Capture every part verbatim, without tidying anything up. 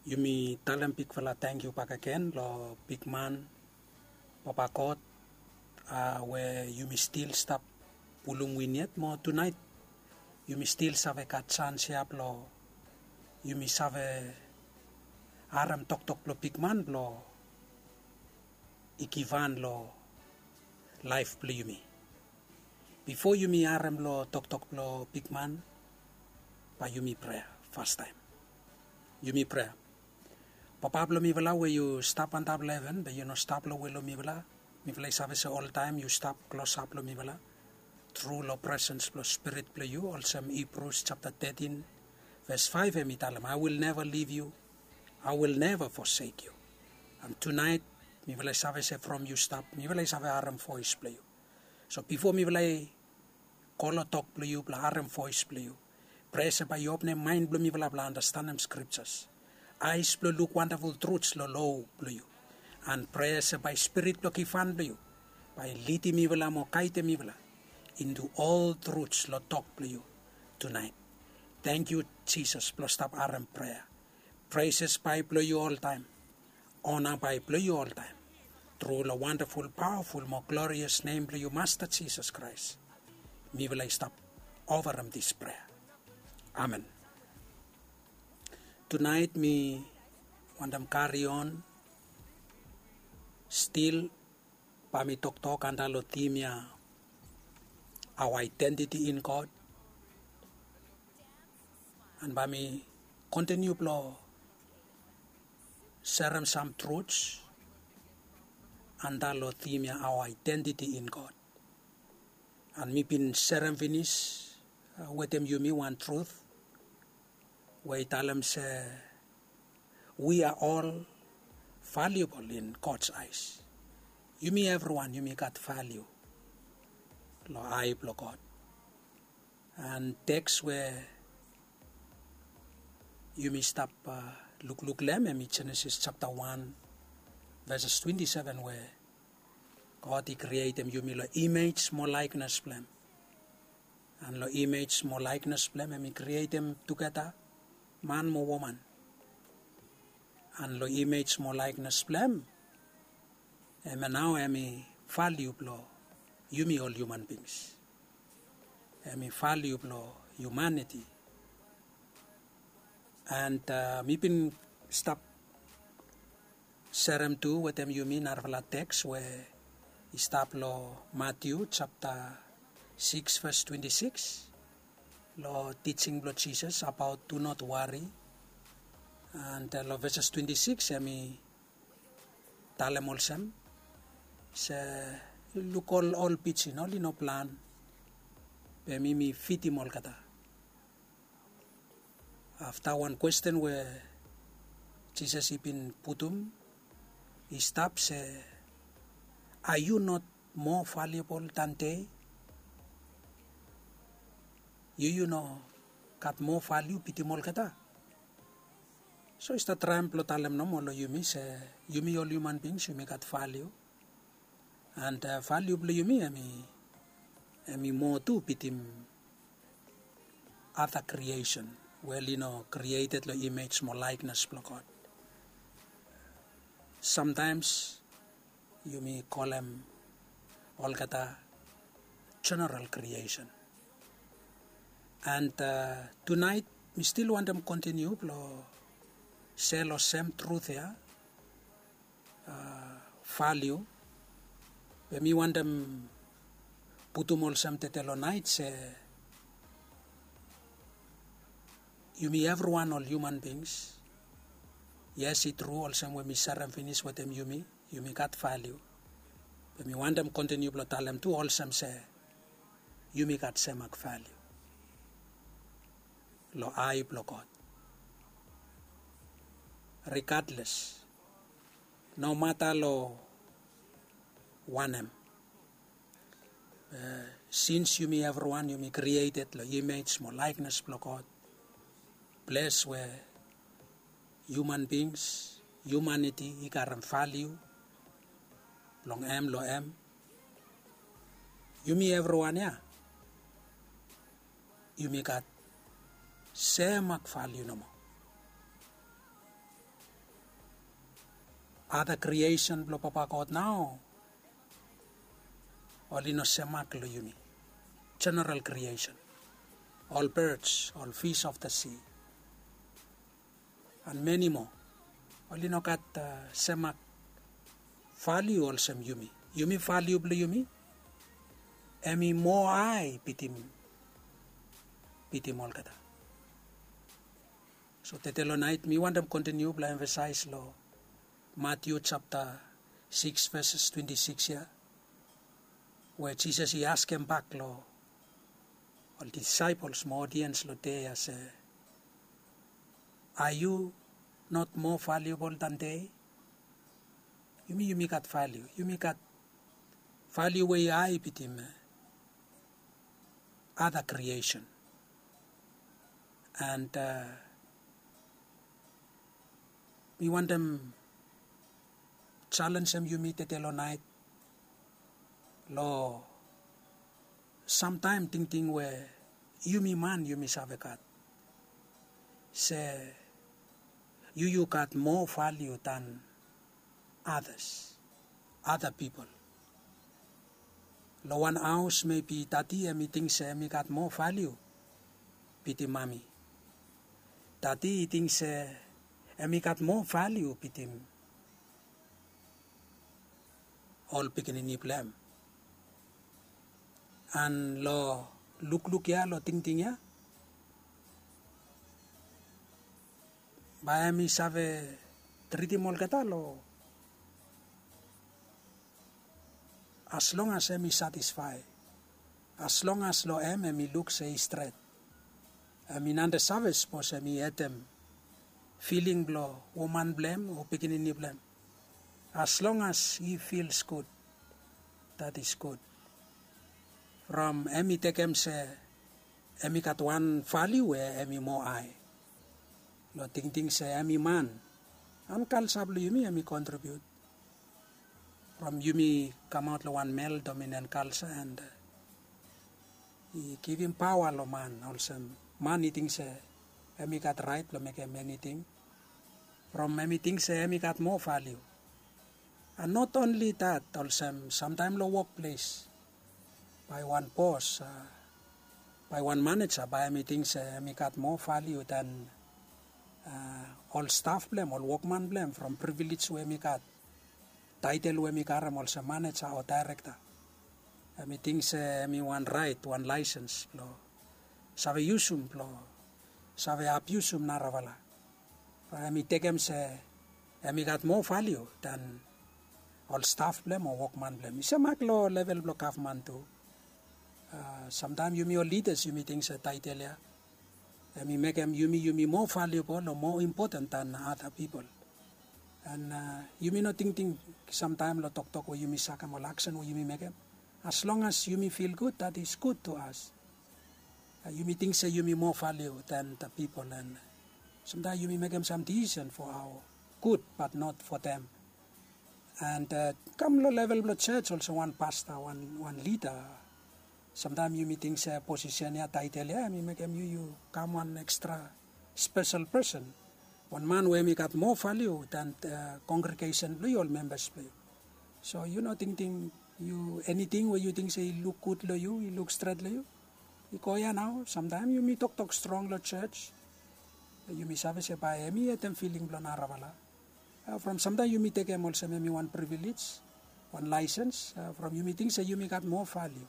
Yumi talem bigfala tangkiu bakegen long bigman, Papa God, a we yumi stil stap pulum win yet mo tunaet yumi stil save gat sans ya blong yumi save harem toktok blong bigman blong i givhan long laef blong yumi. Bifo yumi harem long toktok blong bigman, bae yumi prea fastaem. Yumi prea. Papa blong mifala we yu stap antap long heven, be yu no stap long we long mifala. Mifala i save se oltaem yu stap klosap long mifala tru long presens blong Spirit blong yu, olsem Hibrus japta tetin ves faef hem i talem, "I will never leave you, I will never forsake you." And tunaet mifala i save se from yu stap mifala i save harem voes blong yu. So bifo mifala i go long tok blong yu blong harem voes blong yu, prea se bae yu openem maen blong mifala blong andastanem skriptas, aes blong luk wandaful truts long lo blong yu. And prea se bae Spirit blong givhan blong yu bae lidim mifala mo gaedem mifala into ol truts long tok blong yu tunaet. Tangkiu Jisas blong stap harem prea. Preses bae blong yu oltaem. Ona bae blong yu oltaem. Tru long wandaful, pawaful mo glorias nem blong yu Masta Jisas Kraes, mifala i stap ofarem dis prea. Amen. Tunaet mi wantem karion stil bae mi toktok antap long tim ya, our identity in God. And bae mi kontiniu blong serem sam truts antap long tim ya, our identity in God. And mi bin serem finis wetem yumi wan trut we i talem se we are all valuable in God's eyes. Yumi evriwan yumi gat valiu long ae blong God. And teks we yumi stap lukluk long hem hem i Jenesis japta wan veses twenti seven we God i krietem yumi long imej mo laeknes blong hem. And long imej mo laeknes blong hem hem i krietem tugeta man mo woman. And long imej mo laeknes blong hem, hem ya nao hem i valiu blong yumi ol hiuman bings. Hem i valiu blong hiumaniti. And mi bin stap serem tu wetem yumi narafala teks we i stap long Matiu japta sikis ves twenti sikis, long tijing blong Jisas abaot do not worry. And long veses twenti sikis hem i talem olsem se, luk ol ol pijin, oli no plan, be mi mi fidim olgeta. Afta wan kwesten we Jisas i bin putum i stap se, are you not more valuable than they? Yu yu no gat moa valiu bitim olgeta? So i stap traem blong talem nomo long yumi se yumi ol hiuman bings yumi gat valiu. And valiu blong yumi hem i moa tu bitim ada kriesen we oli no krieted long imej mo laeknes blong God. Samtaems yumi kolem olgeta jeneral kriesen. And tunaet mi stil wantem kontiniu blong sel long sem trut ya, valiu. Be mi wantem putum olsem tede long naet se yumi evriwan ol hiuman bings. Yes, i tru olsem we mi serem finis wetem yumi, yumi gat valiu. Be mi wantem kontiniu blong talem tu olsem se yumi gat semak valiu long ae blong God. Rigadles, nomata long wanem, sins yumi evriwan yumi krieted long imej mo laeknes blong God, ples we hiuman bings, hiumaniti i karem valiu blong hem long hem. Yumi evriwan ya yumi gat semak valiu nomo. Ada kriesen blong Papa God nao oli no semak long yumi. General kriesen, ol birds, ol fish of the sea, and many more, oli no gat semak valiu olsem yumi. Yumi valiu blong yumi hemi moa hae bitim bitim olgeta. So tede long naet mi wantem kontiniu blong emfasais long Matiu japta sikis veses twenti sikis ya, we Jisas i askem bak long ol disaepols mo odiens long dei ya se, are you not more valuable than they? Yumi yumi gat valiu, yumi gat valiu we i hae bitim ada kriesen. And mi wantem jalenjem yumi tede long naet long samtaem tingting we yumi man yumi save gat se yu yu gat moa valiu dan adas, ada pipol. Long wan haos mebi dadi hemi ting se hemi gat moa valiu bitim mami. Dadi i ting se hemi gat moa valiu bitim ol pikinini blong hem. And long lukluk ya, long tingting ya, bae hemi save tritim olgeta long as long as hemi satisfae, as long as long hem hemi luk se i stret. Hemi nande save sapos hemi hetem filing blong woman blong hem o pikinini blong hem. As long as he feels good, that is good. From hemi tekem se hemi gat wan valiu we hemi moa hae long tingting se hemi man. And kalja blong yumi hemi kontribiut from yumi kamaot long wan male dominant culture and i givim paoa long man olsem man i ting se hemi gat raet blong mekem eniting. From hemi ting se hemi gat moa valiu. And not only that, olsem samtaem long wokples bae wan bos, bae wan maneja bae hemi ting se hemi gat moa valiu dan ol staf blong hem, ol wokman blong hem from privilej we hemi gat, taetel we hemi karem olsem maneja o daerekta. Hemi ting se hemi wan raet, wan laesens blong save yusum, blong save abiusum narafala. Bae hemi tekem se hemi gat moa valiu dan ol staf blong hem o wokman blong hem. I semak long level blong gavman tu. Samtaem yumi ol lidas yumi ting se taetel ya hemi mekem yumi yumi moa valiubol o moa impoten dan ada pipol. And yumi no tingting samtaem long toktok we yumi sakem, ol aksen we yumi mekem. As long as yumi fil gud, that is good to us. Yumi ting se yumi moa valiu dan the pipol, and samtaem yumi mekem sam disisen for aoa gud, but not for them. And kam long level blong jos olsem wan pasta, wan lida. Samtaem yumi ting se posisen ya, taetel ya hemi mekem yu yu kam wan ekstra spesel pesen, wan man we hemi gat moa valiu dan kongregesen blong yu, ol membas blong yu. So yu no tingting yu, eniting we yu ting se i luk gud long yu, i luk stret long yu, i go ya nao. Samtaem yumi toktok strong long jos, yumi save se bae hemi hetem filing blong narafala. From samtaem yumi tekem olsem hemi wan privilej, wan laesens, from yumi ting se yumi gat moa valiu.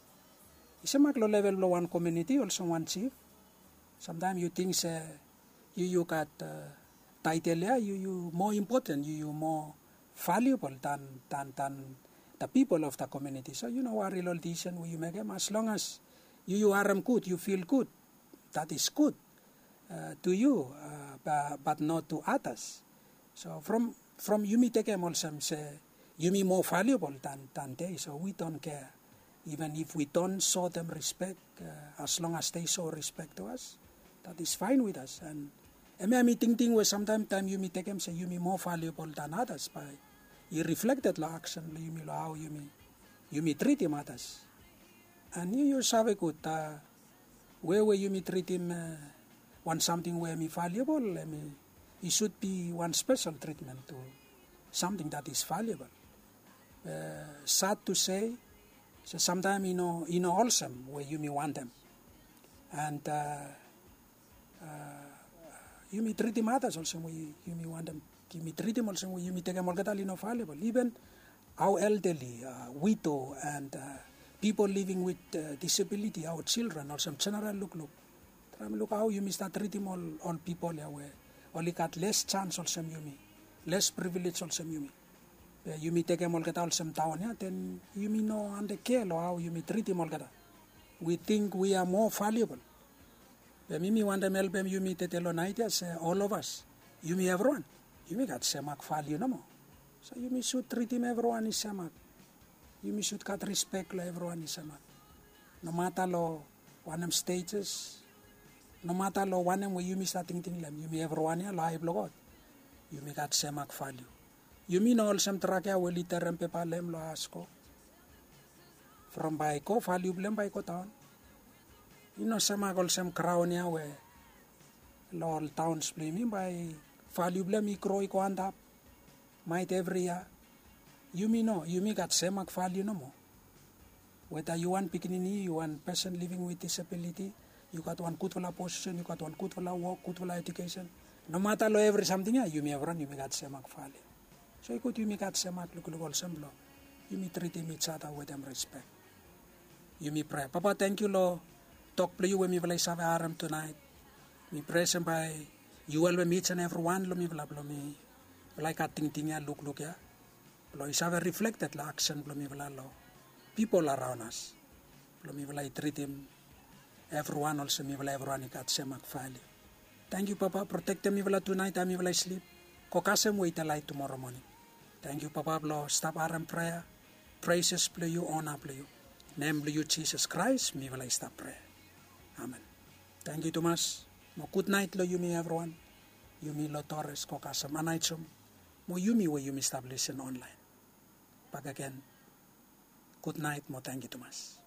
I semak long level blong wan komuniti olsem wan jif. Samtaem yu ting se yu yu gat taetel ya, yu yu moa impoten, yu yu moa valiubol dan dan dan the pipol of the komuniti. So yu no wari long ol disisen we yu mekem, as long as yu yu harem gud, yu fil gud, that is good to you, but not to others. So from from yumi tekem olsem se yumi moa valiubol dan dan they, so we don't care. Even if we don't show them respect, as long as they show respect to us, that is fine with us. And hemia hemi tingting we samtaem taem yumi tekem se yumi moa valiubol dan others bae i reflekted long aksen blong yumi, long hao yumi yumi tritim others. And yu yu save gud we we yumi tritim wan samting we hemi valiubol, hemi i sud bi wan spesel tritmen tu. something that is valuable. Sad to say, se samtaem i no i no olsem we yumi wantem. And yumi tritim atas olsem we yumi wantem. Yumi tritim olsem we yumi tekem olgeta oli no valuable, even hao eldeli, wido and pipol living wit disabiliti, hao children, olsem jeneral lukluk. Traem luk hao yumi stat tritim ol pipol ya we oli gat les jans olsem yumi, les privilej olsem yumi. Be yumi tekem olgeta olsem daon ya, den yumi no ande kea long hao yumi tritim olgeta. Wi ting wi a moa valiabol. Be mi mi wantem helpem yumi tede long naet ya se ol of as, yumi evriwan, yumi gat semak valiu nomo. So yumi sud tritim evriwan i semak. Yumi sud gat rispek long evriwan i semak. Nomata long wanem stejes, nomata long wanem we yumi stat tingting long hem, yumi evriwan ya long ai blong God yumi gat semak valiu. Yumi no olsem drak ya we oli terem pepa long hem long as go. From bae i go, valiu blong hem bae i godaon. I no semak olsem graon ya we long ol daons blong yumi bae valiu blong hem i gro i go antap. Maet evri yia. Yumi no, yumi gat semak valiu nomo. Weta yu wan pikinini, yu wan pesen living wit disabiliti, yu gat wan gudfala posisen, yu gat wan gudfala wok, gudfala ejukesen, nomata long evri samting ya yumi evriwan yumi gat semak valiu. So i gud yumi gat semak lukluk olsem blong yumi tritim ijada wetem rispek. Yumi prea, Papa, tangkiu long tok blong yu we mifala i save harem tunaet. Mi prea olsem bae yu helpem ij and evriwan long mifala blong mifala i gat tingting ya, lukluk ya, blong i save riflekted long aksen blong mifala long pipol araon as, blong mifala i tritim evriwan olsem mifala evriwan i gat semak valiu. Tangkiu, Papa, protektem mifala tunaet taem mifala i slip. Go kasem we i delaet tumora moning. Tangkiu, Papa, blong stap harem prea, preses blong yu, ona blong yu. Nem blong yu Jisas Kraes mifala i stap prea. Amen. Tangkiu tumas. Mo gudnaet long yumi evriwan. Yumi long Torres, go kasem, Anae Jum, mo yumi we yumi stap lisin onlaen. Bakegen, gudnaet mo tangkiu tumas.